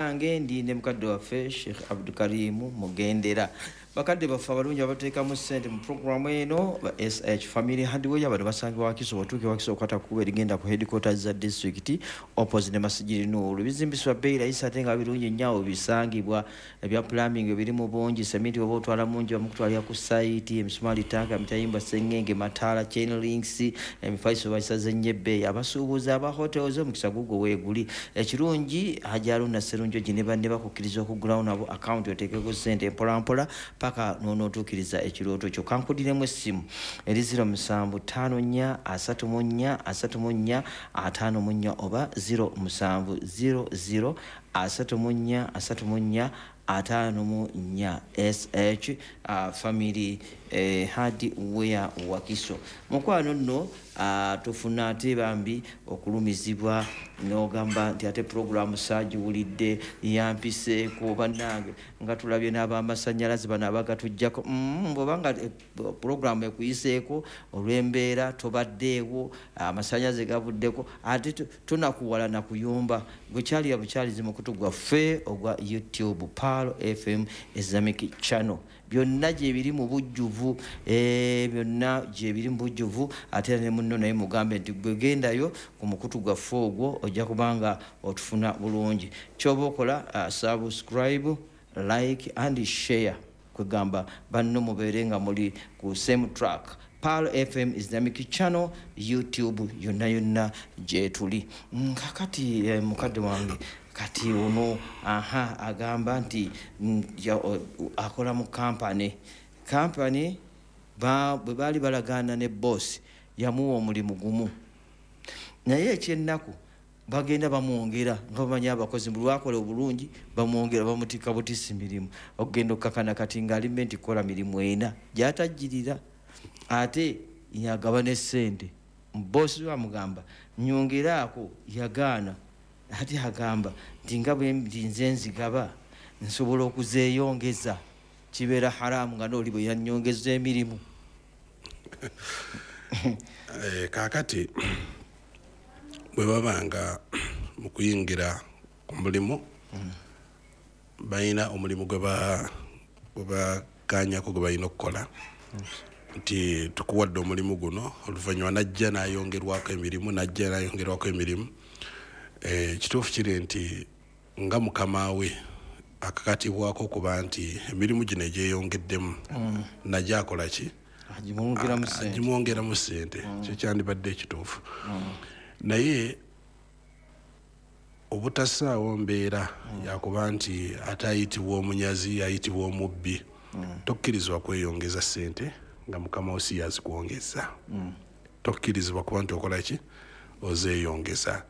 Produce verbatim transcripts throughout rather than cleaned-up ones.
Nange ndi ne mukadde waffe Sheikh Abdukarimu Mugendera. Bakadde baffe abalungi abateekamu ssente mu puroguramu eno ba S H Family Hardware, bano basangibwa Wakiso, bw'otuuka e Wakiso okwata ku kkubo erigenda ku headquarters za disitulikiti opposite ne Masjid Nur. Bizimbisibwa bbeeyi layisi ate nga birungi nnyo awo bisangibwa. Ebya plumbing ebiri mu bungi, sementi oba otwala mungi bamukutwalira ku sayiti, emisumaali, tanka, emitayimbwa, sengenge, mataala, chain links, emifaliso bagisaze nnyo ebbeeyi. Abasuubuzi aba hotels omukisa gugwo weeguli. Ekirungi Hajji Haruna Sserunjogi ne banne bakukkiriza okuggulawo nabo akawunti oteekeko ssente mpolampola paka n'onootuukiriza ekirooto kyo. Kankudiremu essimu eri zero musanvu ttaano nnya asatu mu nnya asatu mu nnya ataano mu nnya oba zero musanvu zero zero asatu mu nnya asatu mu nnya ataano mu nnya. S H, uh, Family, eh, Hardware Wakiso. Mukwano nno, uh, tufuna ate bambi okulumizibwa n'ogamba nti ate puroguramu saagiwulidde yampiseeko bannange nga tulabye n'ab'amasannyalaze bano abagatuggyako. Mm, bw'oba nga, eh, puroguramu ekuyiseeko olw'embeera tobaddeewo, amasannyalaze gavuddeko, ate tu-, tunakuwala na kuyomba. Gwe kyalira bukyalizi mukutu gwaffe ogwa YouTube Pearl F M Islamic Channel. Byonna gye biri mu bujjuvu, eh, byonna gye biri mu bujjuvu, ate era ne munno naye mugambe nti gwe gendayo ku mukutu gwaffe ogwo ojja kubanga otufuna bulungi. Ky'oba okola, uh, subscribe, like and share, kwegamba banno mubeere nga muli ku same track. Pearl F M Islamic Channel, YouTube yonna yonna gye tuli. Mm, kakati, eh, mukadde wange kati ono, aha, agamba nti, mm, ya, o, akola mu kampani. Kampani, ba, bwe baali balagaana ne boss, yamuwa omulimu gumu. Naye ekyennaku bagenda bamwongera nga bamanyi abakozi buli lwakola obulungi bamwongera, bamutikka butisi mirimu. Okugenda okukakana kati ng'ali meant kukola mirimu ena gy'atajjirira, ate yagaba ne ssente. Boss we amugamba nyongeraako, yagaana. Ate agamba nti nga bwe ndi nze nzigaba nsobola okuzeeyongeza, kibeera haramu nga n'oli bwe yannyongeza emirimu. Eh, kaakati bwe baba nga mu kuyingira ku mulimu, Mm. balina omulimu gwe ba-, gwe bakkaanyako gwe balina okukola. Mm. Nti tukuwadde omulimu guno, oluvannyuma n'ajja n'ayongerwako emirimu, n'ajja n'ayongerwako emirimu. Eh, kituufu kiri nti nga mukama we akakatibwako okuba nti emirimu gino egyeyongeddemu, Mm. najja akola ki? Agimwongeramu A-, ssente. Agimwongeramu ssente. Mm. Kyo kyandibadde ekituufu. Mm. Naye obutassaawo mbeera Mm. yakuba nti ate ayitibwa omunyazi, ayitibwa omubbi. Mm. Tokkirizibwa kweyongeza ssente nga mukama wo si yazikwongeza. Mm. Tokkirizibwa kuba nti okola ki? Ozeeyongeza.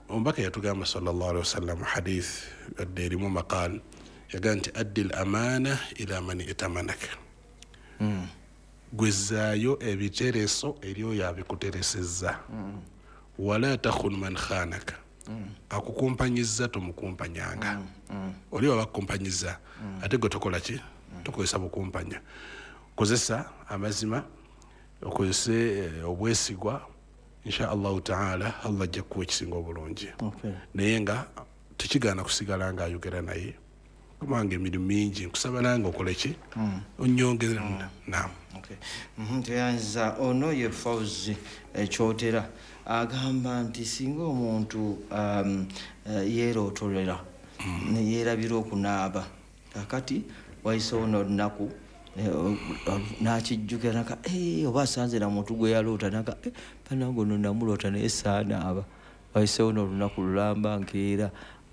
Omubaka yatugamba sallallahu alaihi wasallam hadith yadde erimu maqal, yagamba nti addil amaana ila man itamanaka. Mm. Gwezzaayo ebitereso eri oyo abikuteresezza. Mm. Wala takhun man khanaka. Mm. Akukumpanyizza tomukumpanyanga. Mm. Mm. Oli baba akukumpanyizza, Mm. ate gwe tokola ki? Mm. Tokozesa bukumpanya. Kozesa amazima, okozese, eh, obwesigwa, insha Allahu taala Allah ajja kukuwa ekisinga obulungi. Okay. Naye nga tekigaana kusigala ng'ayogera naye, kubanga emirimu mingi, nkusaba nange okole ki? Mm. Onnyongere. Mm. Naam. Okay. Mm-hmm. Teyanza ono ye Fauzi Ekyotera agamba nti singa omuntu, um, eh, yeerootolera, Mm. ne yeerabira okunaaba, kakati wayiseewo n'olunaku, eh, o-, o-, n'akijjukira naka, eh, oba asanze na muntu gwe yaloota, naka, eh, bannange ono namuloota naye saanaaba. Wayiseewo n'olunaku lulamba nkeera,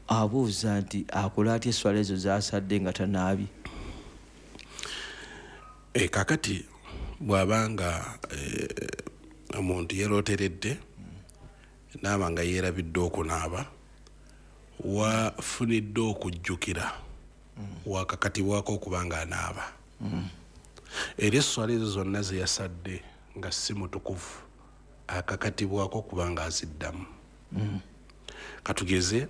abuuza nti akola atya esswala ezo z'asadde nga tanaabye? Eh, kakati bw'abanga, eh, omuntu yeerooteredde n'aba nga yeerabidde okunaaba, wafunidde okujjukira, Mm. wakakatibwako okuba nga anaaba. Mm. Era esswala ezo zonna ze yasadde nga si mutukuvu, akakatibwako okuba nga aziddamu. Mm. Katugeze,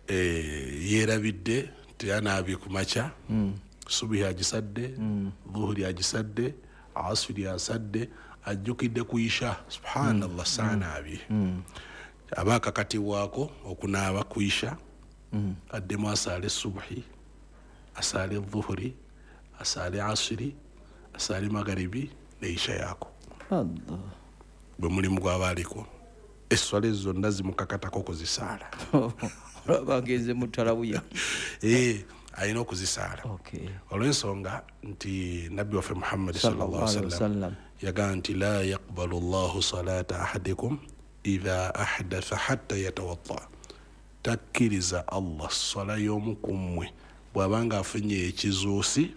eh, yeerabidde teyanaabye ku makya, Mm. subuhi agisadde, Mm. dhuhuri agisadde, asiri asadde, ajjukidde ku isha, subhanallah, Mm. saanaabye. Mm. Aba akakatibwako okunaaba ku isha, mm. addemu asaale subuhi, asaale dhuhuri, asaale asiri, asaale magaribi ne isha yako. Allah. Bwe mulimu gwaba aliko esswala ezo zonna zimukakatako okuzisaala. Olaba agenze mu tarawuya. Eh, alina okuzisaala. Okay. Olw'ensonga nti nabbi waffe Muhammad sallallahu alaihi wasallam yagamba nti la yaqbalu Allahu salata ahadikum idha ahdatha hatta yatawadda, takkiriza Allah swala y'omu ku mmwe bw'abanga afunye ekizuusi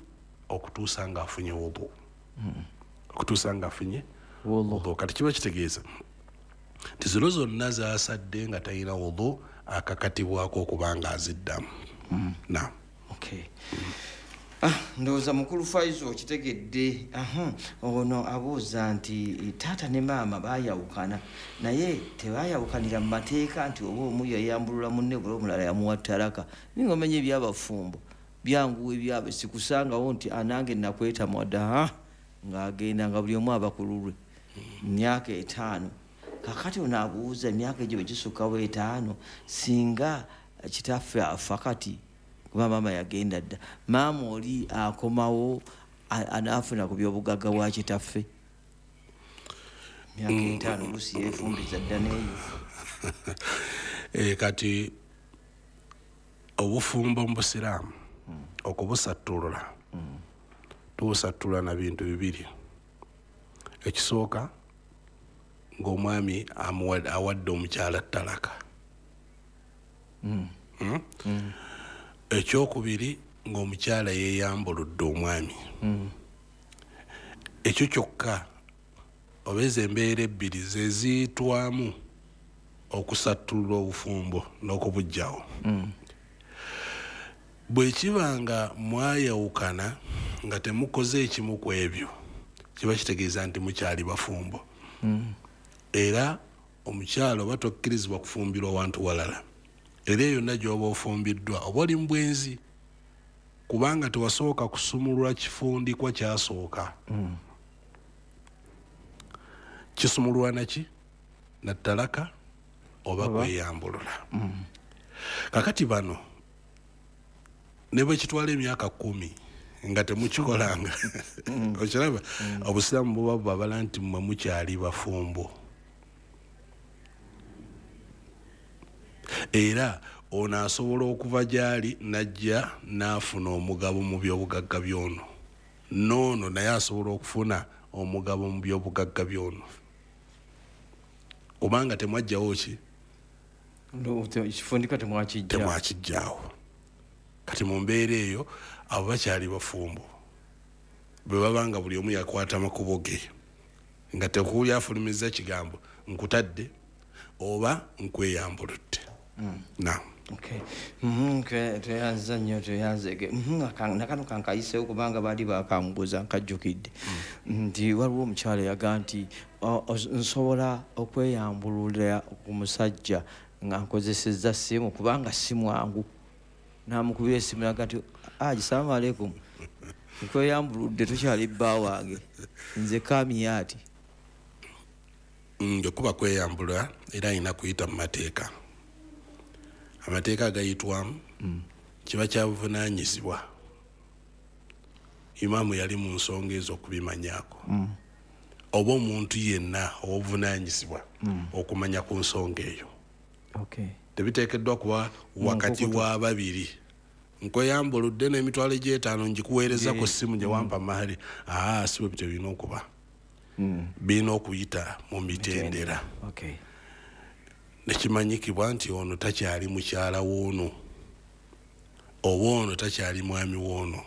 okutuusa ng'afunye wudu. Mm. Okutuusa ng'afunye wudu. Wudu. Kati kiba kitegeeza nti zino zonna z'asadde nga talina wudu akakatibwako okuba nga aziddamu. Mm. Naam. Okay. Ah, ndowooza mukulu Faizo okitegedde. Aha, ono abuuza nti taata ne maama baayawukana naye tebaayawukanira mu mateeka nti oba omu yayambulula munne buli omulala yamuwa talaka. Ninga omanya ebyabafumbo byanguwa ebyabwe, sikusangawo nti anange nakwetamwa dda ng'agenda nga buli omu aba ku lulwe myaka etaano. Kakati ono abuuza emyaka egyo bwe gisukkawo etaano singa kitaffe afa kati kuba maama yagenda dda, maama oli akomawo anaafuna ku byobugagga bwa kitaffe? Myaka etaano oluusi yeefumbiza dda n'eyo. Eh, kati obufumbo mu busiraamu okubusattulula tubusattulula na bintu bibiri. Ekisooka ng'omwami awadde omukyala talaka. Mm. Mm? Mm. Ekyokubiri ng'omukyala yeeyambuludde omwami. Mm. Ekyo kyokka oba ezo embeera ebbiri ze ziyitwamu okusattulula obufumbo n'okubuggyawo. Mm. Bwe kiba nga mwayawukana nga temukoze ekimu ku ebyo, kiba kitegeeza nti mukyali bafumbo. Mm. Era omukyala oba tokkirizibwa kufumbirwa wantu walala, era yonna gy'oba ofumbiddwa oba oli mu bwenzi, kubanga tewasooka kusumulula kifundikwa kyasooka. Mm. Kisumululwa naki? Na talaka oba Oba. kweyambulula. Mm. Kakati bano ne bwe kitwala emyaka kkumi nga temukikolanga, okiraba obusiraamu buba bubabala nti mmwe mukyali bafumbo. Era ono asobola okuva gy'ali n'ajja n'afuna omugabo mu byobugagga by'ono, n'ono naye asobola okufuna omugabo mu byobugagga by'ono, kubanga temwajjawo ki? Ekifundikwa temwakijja. Temwakijjaawo. Kati mu mbeera eyo abo bakyali bafumbo bwe baba nga buli omu yakwata amakubo ge nga tekuli afulumizza kigambo nkutadde oba nkweyambuludde. Mm. Naam. Okay. Mhm, tweyanza nnyo, tweyanzege. Mhm, nakano kankayiseewo kubanga baali bakambuuza nkajjukidde. Nti waliwo omukyala yaga nti nsobola okweyambulula ku musajja nga nkozesezza ssimu kubanga si mwangu. N'amukubira essimu n'aga nti aji salaamu aleikum, nkweyambuludde tokyali bba wange, nze Kamiyaati. Nge kuba kweyambula era alina kuyita mu mateeka. Amateeka agayitwamu mm. kiba kyabuvunaanyizibwa. Imaamu yali mu nsonga ezo okubimanyaako. Mm. Oba omuntu yenna obuvunaanyizibwa mm. okumanya ku nsonga eyo. Okay. Tebiteekeddwa kuba wakati wa babiri. Nkweyambuludde n'emitwalo gy'etaano ngikuweereza ku ssimu gye wampa mahali. Aa, si bwe bityo birina okuba. Mm. Birina okuyita mu mitendera. Okay. Nekimanyikibwa nti ono takyali mukyala w'ono oba ono takyali mwami w'ono.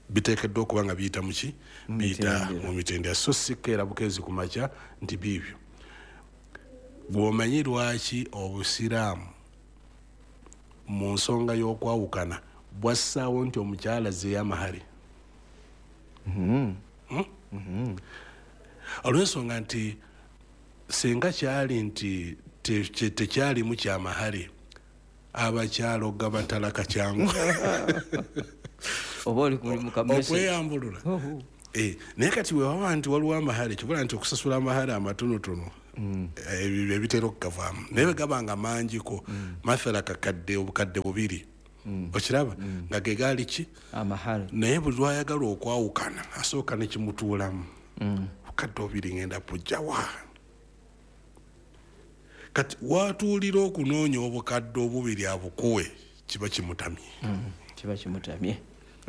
Biteekeddwa okuba nga biyita mu ki? Biyita mu mitendera. So si keera bukeezi ku makya nti biibyo. Bw'omanyi lwaki obusiraamu mu nsonga y'okwawukana bwassaawo nti omukyala azzeeyo amahale? Mm-hmm. Hmm? Mm-hmm. Olw'ensonga nti singa kyali nti tekyalimu kyamahale, abakyala ogaba talaka kyangu. Oba oli ku mulimu ka message. Okweyambulula. Eh, naye kati wewaba nti waliwo amahale, kibula nti okusasula amahale amatonotono ebyo ebitera okukavaamu, naye bwe gaba nga mangiko, mathala kakadde obukadde bubiri, okiraba nga ge gaali ki amahale, naye buli lwayagala okwawukana asooka ne kimutuulamu, bukadde bubiri ngenda bujjawa. Kati watuulira okunoonya obukadde obubiri abukuwe, kiba kimutamye, kiba kimutamye,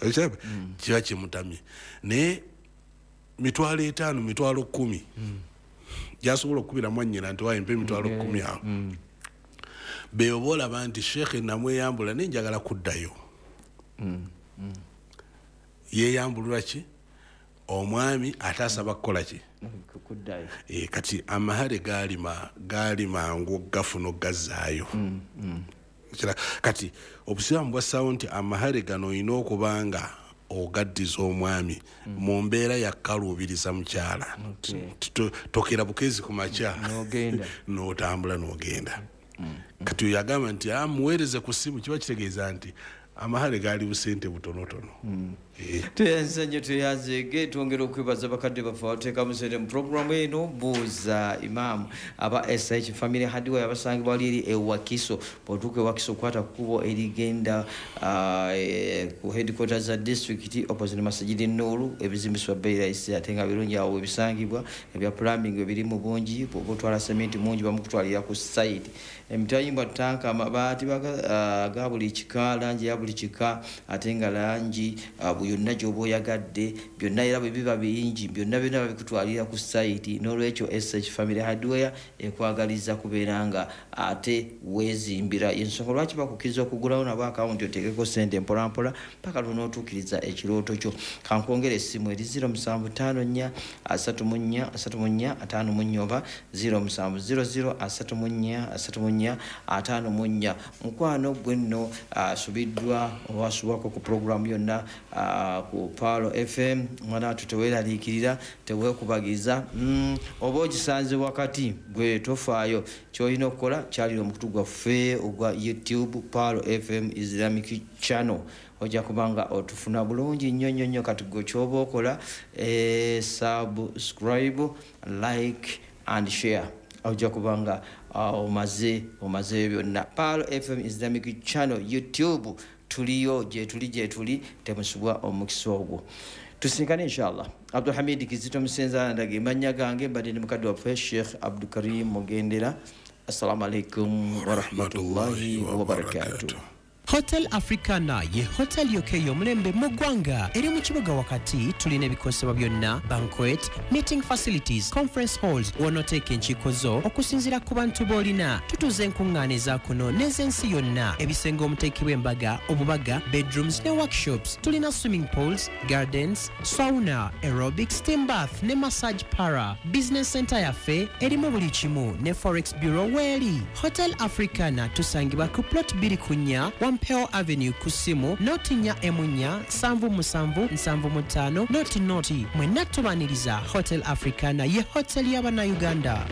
okiraba kiba kimutamye. Naye mitwalo etaano, mitwalo kkumi gyasobola okukubira mwannyina nti waayi mpa emitwalo kkumi awo, beoba olaba nti sheekhe namweyambula naye njagala kuddayo. Yeeyambulula ki omwami ate asaba kukola ki? Kuddayo. Eh, kati amahale gaali gaali mangu okugafuna okugazzaayo. Kati obusiraamu bwassaawo nti amahale gano olina okuba nga ogaddiza omwami mu mbeera yakkaluubiriza mukyala, tokera bukezi ku makya n'otambula n'ogenda. Kati oyo agamba nti amuweereze ku ssimu, kiba kitegeeza nti amahale gaali busente butonotono. Tweyanze nnyo, tweyanzeege, twongera okwebaza bakadde baffe abateekamu ssente mu pulogulaamu eno Buuza Imaamu aba S H Family Hardware abasangibwa wali eri e Wakiso. Bw'otuuka e Wakiso okwata ku kkubo erigenda ku headquarters za disitulikiti opposite Masjid Nuru, ebizimbisibwa bbeeyi layisi ate nga birungi awo ebisangibwa, ebya plumbing ebiri mu bungi, bw'oba otwala sementi mungi bamukutwalira ku site. Emitayimbwa ttanka, amabaati ga buli kika, langi ya buli kika, ate nga langi yonna gy'oba oyagadde, byonna era bwe biba bingi byonna byonna babikutwalira ku site. N'olwekyo S H Family Hardware ekwagaliza kubeera nga ate weezimbira. Ensonga lwaki bakukkiriza okugulawo nabo akawunti oteekeko ssente mpolampola paka lw'onootuukiriza ekirooto kyo. Kankwongere essimu eri ziro musanvu ttaano nnya asatu mu nnya asatu mu nnya ataano mu nnya oba ziro musanvu ziro ziro asatu mu nnya asatu mu nnya ataano mu nnya. Mukwano gwe nno asubiddwa oba asubwako ku pulogulaamu yonna ku Pearl F M, mwana wattu teweeraliikirira, teweekubagiza, oba ogisanze wakati gwe tofaayo. Ky'olina okukola kyalira omukutu gwaffe ogwa YouTube Pearl F M Islamic Channel, ojja kuba nga otufuna bulungi nnyo nnyo nnyo. Kati gwe ky'oba okola, subscribe, like and share, ojja kuba nga omaze omazeeyo byonna. Pearl F M Islamic Channel YouTube tuliyo, gye tuli gye tuli, temusubwa omukisa ogwo. Tusinkane inshallah. Abdulhamid Kizito Musenza ndage mannya gange, mbadde ne mukadde waffe Sheikh Abdulkarim Mugendera. Assalamu alaikum warahmatullahi wabarakatuh. Hotel Africana ye hotel yokka ey'omulembe mu ggwanga eri mu kibuga wakati. Tulina ebikozesebwa byonna, banquet, meeting facilities, conference halls, w'onooteeka enkiiko zo okusinziira ku bantu b'olina. Tutuuza enkuŋŋaana eza kuno n'ez'ensi yonna, ebisenge omuteekebwa embaga, obubaga, bedrooms ne workshops. Tulina swimming pools, gardens, sauna, aerobics, steam bath ne massage para. Business center yaffe erimu buli kimu ne forex bureau weeri. Hotel Africana tusangibwa ku plot bbiri ku nnya Wampeo Avenue ku ssimu noti nnya emu nnya nsanvu musanvu nsanvu mu ttaano noti noti. Mwenna tubaaniriza. Hotel Africana ye hotel y'Abannayuganda.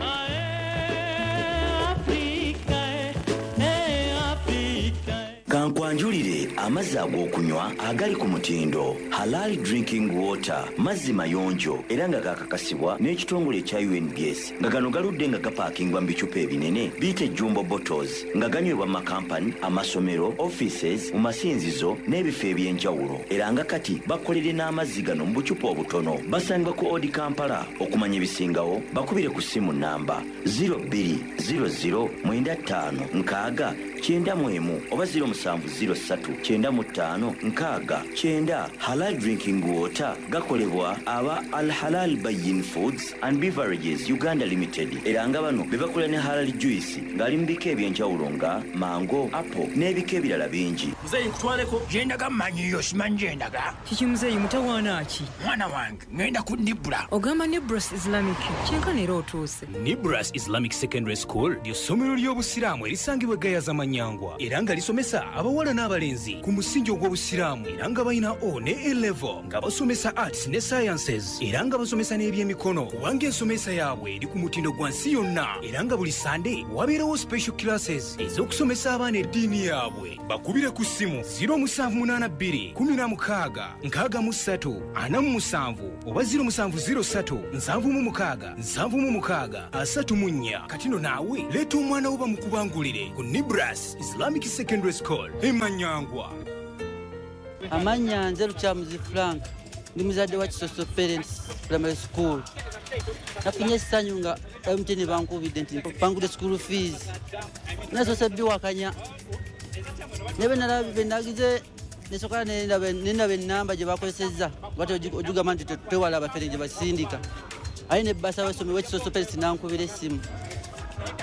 Kankwanjulire amazzi ag'okunywa agali ku mutindo Halal Drinking Water, mazzi mayonjo era nga gakakasibwa n'ekitongole ekya U N B S, nga gano galudde nga gapaakingwa mu bicupa ebinene biyite jumbo bottles, nga ganywebwa mu makampani, amasomero, offices, mu masinzizo n'ebifo eby'enjawulo. Era nga kati bakolere n'amazzi gano mu bucupa obutono. Basangibwa ku Odi Kampala. Okumanya ebisingawo bakubire ku ssimu namba zero bbiri zero zero mwenda ttaano nkaaga kyenda mu emu oba zero musanvu zero ssatu kyenda mu ttaano nkaaga kyenda. Halal Drinking Water gakolebwa aba Al Halal Bayin Foods and Beverages Uganda Limited, era nga bano be bakola ne halal juice ng'ali mu bika eby'enjawulo nga mango, apple n'ebika ebirala bingi. Muzeeyi nkutwaleko gyendaga mmanyiyo, simanyi gyendaga. Kiki muzeeyi mutawaana ki? Mwana wange ŋŋenda ku Nibra. Ogamba Nibras Islamic kyenkana era otuuse. Nibras Islamic Secondary School ly'essomero ly'obusiraamu erisangibwa e Gayaza Manyangwa era nga lisomesa Abawala n'abalenzi ku musingi ogw'obusiraamu, era nga balina O ne A level, nga basomesa arts ne sciences, era nga basomesa n'ebyemikono, kubanga ensomesa yaabwe eri ku mutindo gwa nsi yonna. Era nga buli Sande wabeerawo special classes ez'okusomesa abaana eddiini yaabwe. Bakubire ku ssimu zero musanvu munaana bbiri kumi na mukaaga nkaaga mu ssatu ana mu musanvu oba zero musanvu zero ssatu nsanvu mu mukaaga nsanvu mu mukaaga asatu mu nnya. Kati no naawe leeta omwana wo bamukubangulire ku Nibras Islamic Secondary School e Manyangwa. Amannya nze Lukyamuzi Frank, ndi muzadde wa Kisoso Parents Primary School. Nafunye essanyu nga M T N bankubidde nti bangudde school fees. Nasoose biwakanya. Ne bwe nalabye bwe nagize nesooka ne ndaba ennamba gye bakozesezza, nga ojugamba nti tewala abafere gye basindika. Aye ne bbasa w'essomero w'Ekisoso Parents n'ankubira essimu.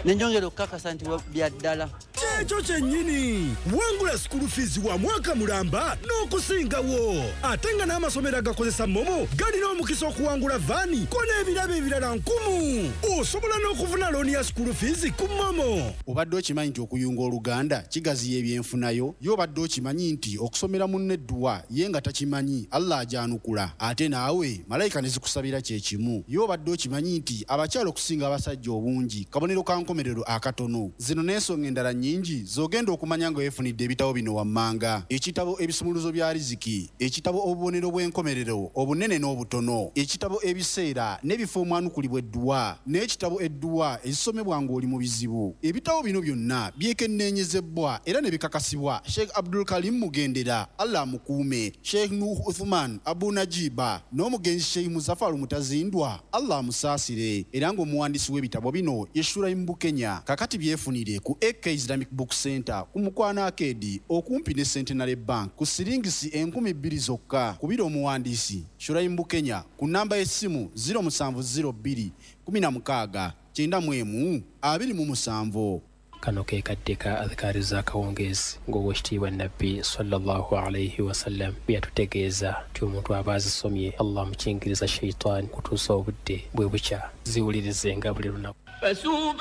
Ne njongera okukakasa nti bya ddala. Kyekyo kyennyini, wangula school fees wa mwaka mulamba n'okusingawo. Ate nga n'amasomero agakozesa MoMo galina omukisa okuwangula vaani ko n'ebirabo ebirala nkumu. Osobola n'okufuna looni ya school fees ku MoMo. Obadde okimanyi nti okuyunga oluganda kigaziya ebyenfunayo? Ye obadde okimanyi nti okusomera munno edduwa ye nga takimanyi Allah ajanukula, ate naawe malayika ne zikusabira kye kimu? Ye obadde okimanyi nti abakyala okusinga abasajja obungi kabonero ka nkomerero akatono? Zino n'ensonga endala nnyingi z'ogenda okumanya nga weefunidde ebitabo bino wammanga: ekitabo ebisumuluzo bya riziki, ekitabo obubonero bw'enkomerero obunene n'obutono, ekitabo ebiseera n'ebifo omwanukulibwa edduwa, n'ekitabo edduwa ezisomebwa ng'oli mu bizibu. Ebitabo bino byonna byekenneenyezebwa era ne bikakasibwa Sheikh Abdul Karim Mugendera, Allah amukuume, Sheikh Nuh Uthman Abu Najiba n'omugenzi Sheikh Muzafaru Mutazindwa, Allah amusaasire. Era ng'omuwandiisi w'ebitabo bino ye Shuraim Bukenya. Kakati byefunire ku A K Islamic Book Center ku Mukwano Arcade okumpi ne Centenary Bank ku siringisi enkumi bbiri zokka. Kubira omuwandiisi Shuraim Bukenya ku namba y'essimu zero musanvu zero bbiri kumi na mukaaga kyenda mu emu abiri mu musanvu. Kano ke kadde ka adhikaari z'akawungeezi ng'owekitiibwa Nabbi sallallahu alaihi wasallam bwe yatutegeeza nti omuntu aba azisomye Allah amukingiriza shaitaani kutuusa obudde bwe bukya. Ziwulirizenga buli lunaku.